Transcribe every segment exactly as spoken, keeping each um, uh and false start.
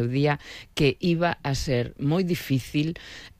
día que iba a ser moi difícil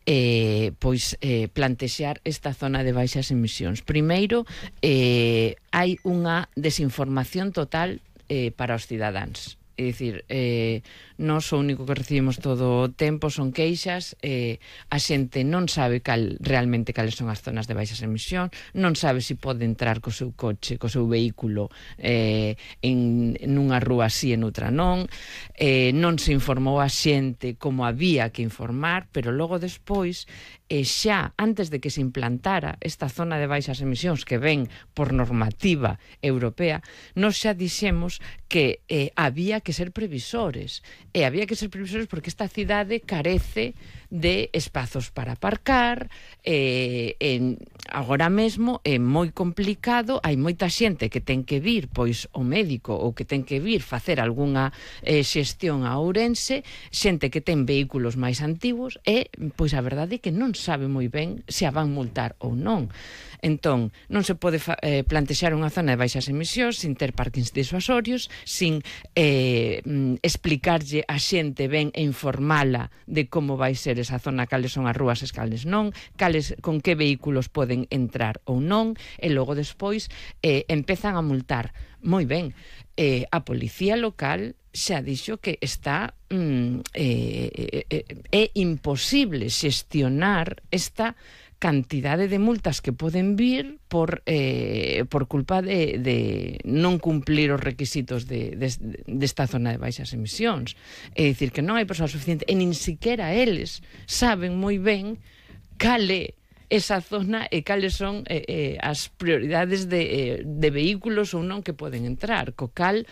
eh, pois eh, plantexar esta zona de baixas emisións. Primeiro, eh, hai unha desinformación total eh, para os cidadáns. É dicir, eh, nós o único que recibimos todo o tempo son queixas, eh, a xente non sabe cal, realmente cales son as zonas de baixas emisións, non sabe se pode entrar co seu coche, co seu vehículo eh, en nunha rúa así e noutra non, eh, non se informou a xente como había que informar, pero logo despois, e xa antes de que se implantara esta zona de baixas emisións que ven por normativa europea, nós xa dixemos que eh, había que ser previsores, e había que ser previsores porque esta cidade carece de espazos para aparcar, eh, en, agora mesmo é moi complicado, hai moita xente que ten que vir pois o médico ou que ten que vir facer algunha eh, xestión a Ourense, xente que ten vehículos máis antigos e pois a verdade é que non sabe moi ben se a van multar ou non. Entón, non se pode eh, plantexar unha zona de baixas emisións sin ter parkings disuasorios, sin eh, explicarlle a xente ben e informala de como vai ser esa zona, cales son as rúas e cales non, cales, con que vehículos poden entrar ou non, e logo despois eh, empezan a multar. Moi ben, eh, a policía local xa dixo que está mm, eh, eh, é imposible xestionar esta cantidade de multas que poden vir por eh, por culpa de, de non cumplir os requisitos de, de, desta zona de baixas emisións. É dicir, que non hai persoa suficiente e nin siquiera eles saben moi ben cale esa zona e cales son eh, eh, as prioridades de, eh, de vehículos ou non que poden entrar. Co cal,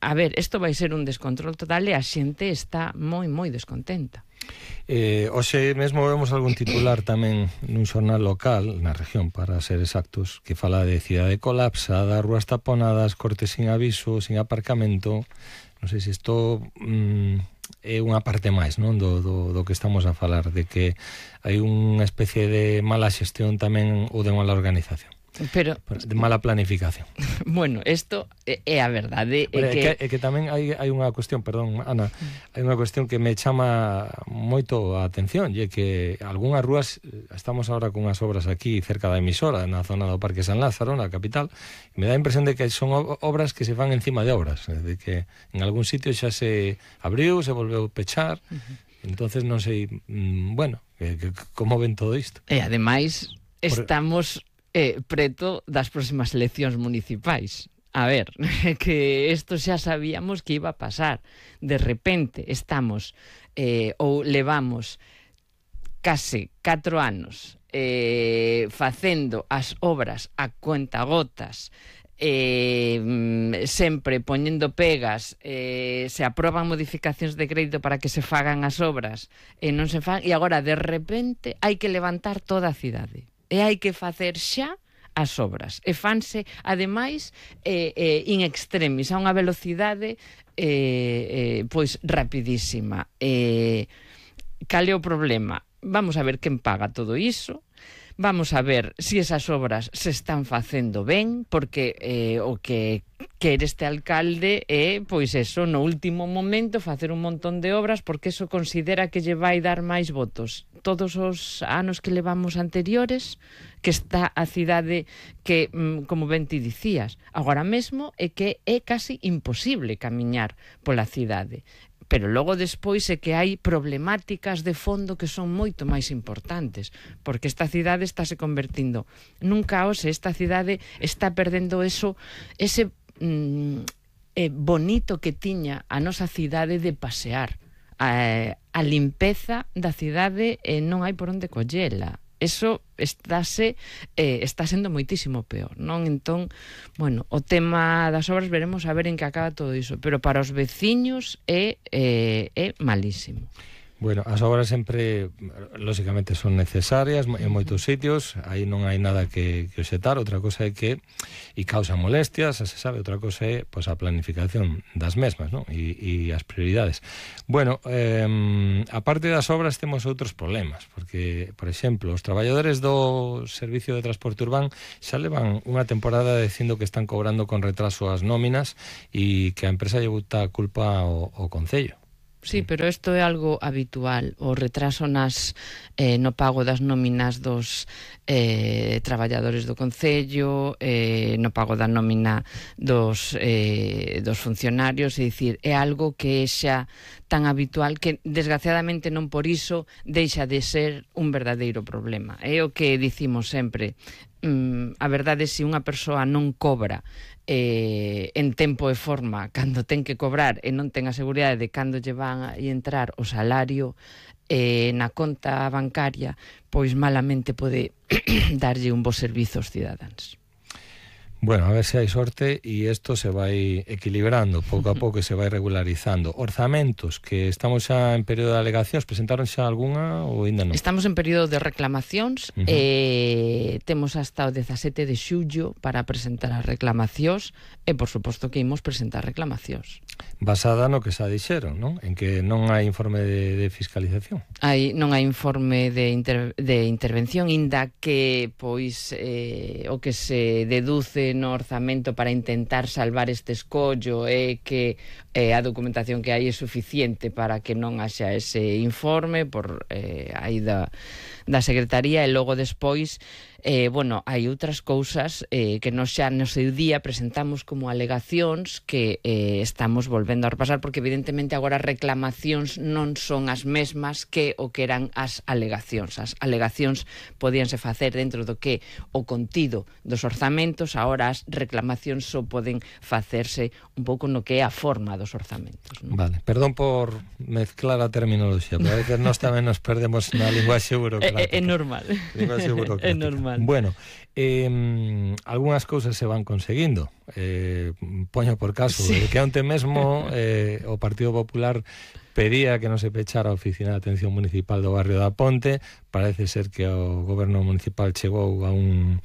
a ver, isto vai ser un descontrol total e a xente está moi, moi descontenta. Eh, hoxe mesmo vemos algún titular tamén nun xornal local na región, para ser exactos, que fala de cidade colapsada, rúas taponadas, cortes sin aviso, sin aparcamento. Non sei se isto mm, é unha parte máis, non, do, do, do que estamos a falar, de que hai unha especie de mala xestión tamén ou de mala organización. Pero, de mala planificación. Bueno, isto é, é a verdade. É, é, que... que, é que tamén hai, hai unha cuestión, perdón, Ana, hai unha cuestión que me chama moito a atención, e é que algunhas rúas, estamos agora con unhas obras aquí cerca da emisora, na zona do Parque San Lázaro, na capital, e me dá a impresión de que son obras que se fan encima de obras, de que en algún sitio xa se abriu, se volveu pechar, uh-huh. Entonces non sei, mmm, bueno, que, que, como ven todo isto. E ademais, estamos... Eh, preto das próximas eleccións municipais. A ver, que isto xa sabíamos que iba a pasar. De repente estamos eh, ou levamos case catro anos eh, facendo as obras a cuentagotas, eh, sempre poñendo pegas, eh, se aproban modificacións de crédito para que se fagan as obras e non se fan, e agora de repente hai que levantar toda a cidade. E hai que facer xa as obras. E fanse, ademais, eh, eh, in extremis, a unha velocidade eh, eh, pois rapidísima. Eh, cal é o problema? Vamos a ver quen paga todo iso. Vamos a ver se si esas obras se están facendo ben, porque eh, o que quere este alcalde é, pois eso, no último momento facer un montón de obras porque eso considera que lle vai dar máis votos. Todos os anos que levamos anteriores, que está a cidade que, como ben ti dicías, agora mesmo é que é casi imposible camiñar pola cidade. Pero logo despois é que hai problemáticas de fondo que son moito máis importantes, porque esta cidade está se convertindo nun caos, esta cidade está perdendo eso, ese mm, eh, bonito que tiña a nosa cidade de pasear. A, a limpeza da cidade eh, non hai por onde collela. Eso estáse, eh, está sendo moitísimo peor, non? Entón, bueno, o tema das obras veremos a ver en que acaba todo iso, pero para os veciños é, é, é malísimo. Bueno, as obras sempre, lógicamente, son necesarias en moitos sitios, aí non hai nada que, que obxetar, outra cosa é que e causa molestias, se sabe, outra cosa é pois, a planificación das mesmas, non? E, e as prioridades. Bueno, eh, aparte das obras temos outros problemas, porque, por exemplo, os traballadores do Servicio de Transporte Urbán xa levan unha temporada dicindo que están cobrando con retraso as nóminas e que a empresa lle bota a culpa ao, ao Concello. sí, pero isto é algo habitual. O retraso nas eh, no pago das nóminas dos eh, traballadores do Concello, eh, no pago da nómina dos, eh, dos funcionarios, é dicir, é algo que é xa tan habitual que, desgraciadamente, non por iso deixa de ser un verdadeiro problema. É o que dicimos sempre. Mm, a verdade é que se unha persoa non cobra eh, en tempo e forma cando ten que cobrar e non ten a seguridade de cando lle van a entrar o salario eh, na conta bancaria, pois malamente pode darlle un bo servizo aos cidadáns. Bueno, a ver se hai sorte e isto se vai equilibrando pouco a pouco e se vai regularizando. Orzamentos, que estamos xa en período de alegacións, presentaron xa algunha ou ainda non? Estamos en período de reclamacións, uh-huh. eh, temos hasta o dezasete de xullo para presentar as reclamacións e, por suposto, que imos presentar reclamacións. Basada no que xa dixeron, non? En que non hai informe de, de fiscalización. Hai, non hai informe de, inter, de intervención, inda que, pois, eh, o que se deduce no orzamento para intentar salvar este escollo é que eh, a documentación que hai é suficiente para que non haxa ese informe por eh, aí da, da Secretaría, e logo despois eh, bueno, hai outras cousas eh, que nos xa no seu día presentamos como alegacións que eh, estamos volvendo a repasar, porque evidentemente agora as reclamacións non son as mesmas que o que eran as alegacións. As alegacións podíanse facer dentro do que o contido dos orzamentos, agora as reclamacións só poden facerse un pouco no que é a forma dos orzamentos, non? Vale, perdón por mezclar a terminoloxía, pero a veces nós tamén nos perdemos na linguaxe burocrática. É, é normal. Linguaxe burocrática. É normal. Bueno, eh, algunhas cousas se van conseguindo. Eh, poño por caso, sí. Que onte mesmo eh, o Partido Popular pedía que non se pechara a Oficina de Atención Municipal do barrio da Ponte. Parece ser que o goberno municipal chegou a un...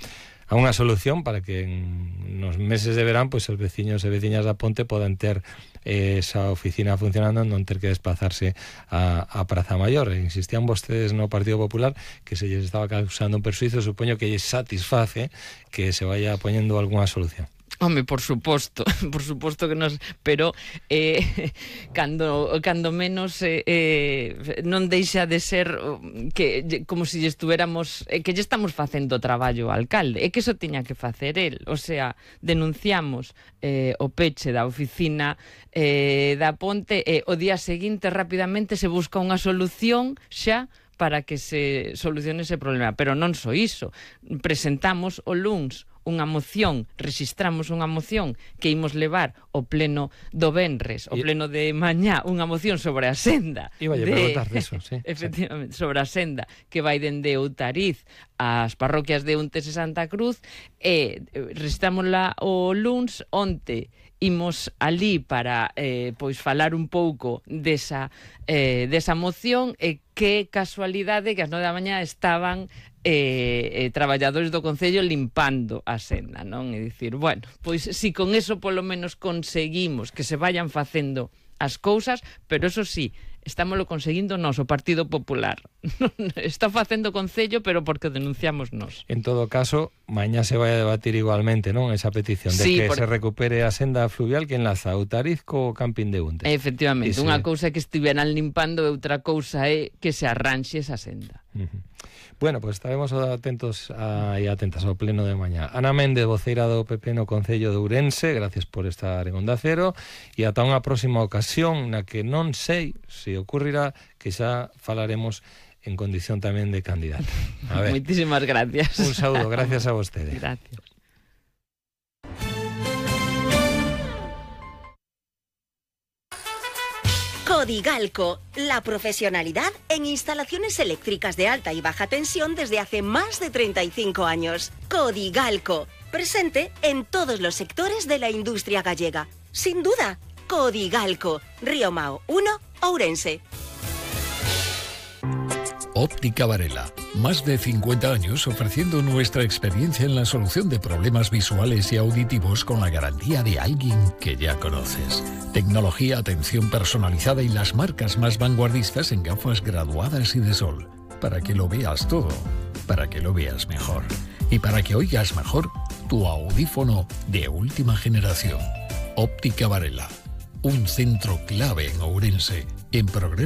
a unha solución para que en nos meses de verán pois os veciños e veciñas da Ponte podan ter eh, esa oficina funcionando, non ter que desplazarse a, a Praza Maior. E insistían vostedes no Partido Popular que se lles estaba causando un persuizo, supoño que lles satisface que se vaya poñendo algunha solución. Home, por suposto, por suposto que nos, pero eh, cando, cando menos eh, eh, non deixa de ser que como se si estuéramos, eh, que lle estamos facendo o traballo ao alcalde, é que eso tiña que facer el, o sea, denunciamos eh, o peche da oficina eh, da Ponte e o día seguinte rapidamente se busca unha solución xa para que se solucione ese problema, pero non só iso, presentamos o luns unha moción, registramos unha moción que imos levar ao pleno do venres, o pleno de mañá, unha moción sobre a senda. Iba a preguntar deso, sí. Efectivamente, sobre a senda que vai dende Outariz ás parroquias de Untes e Santa Cruz, e registramos-la o luns. Onte imos ali para eh, pois falar un pouco desa, eh, desa moción, e que casualidade que ás nove da mañá estaban eh, eh, traballadores do Concello limpando a senda, non? É dicir, bueno, pois si con eso polo menos conseguimos que se vayan facendo as cousas, pero eso sí, estámoslo conseguindo nós, o Partido Popular. Está facendo o Concello, pero porque o denunciamos nós. En todo caso, mañá se vai a debatir igualmente, non? Esa petición de sí, que por... se recupere a senda fluvial que enlaza Outariz co camping de Untes. Efectivamente, unha se... cousa é que estiveran limpando e outra cousa é que se arranxe esa senda. Uh-huh. Bueno, pois pues estaremos atentos a, e atentas ao pleno de mañá. Ana Méndez, voceira do P P no Concello de Ourense, gracias por estar en Onda Cero, e ata unha próxima ocasión na que non sei se ocurrirá que xa falaremos en condición tamén de candidata. A ver. Moitísimas gracias. Un saúdo, gracias a vostede. Gracias. Codigalco, la profesionalidad en instalaciones eléctricas de alta y baja tensión desde hace más de treinta y cinco años. Codigalco, presente en todos los sectores de la industria gallega. Sin duda, Codigalco, Río Mao uno, Ourense. Óptica Varela, más de cincuenta años ofreciendo nuestra experiencia en la solución de problemas visuales y auditivos con la garantía de alguien que ya conoces. Tecnología, atención personalizada y las marcas más vanguardistas en gafas graduadas y de sol. Para que lo veas todo, para que lo veas mejor. Y para que oigas mejor, tu audífono de última generación. Óptica Varela, un centro clave en Ourense. En Progreso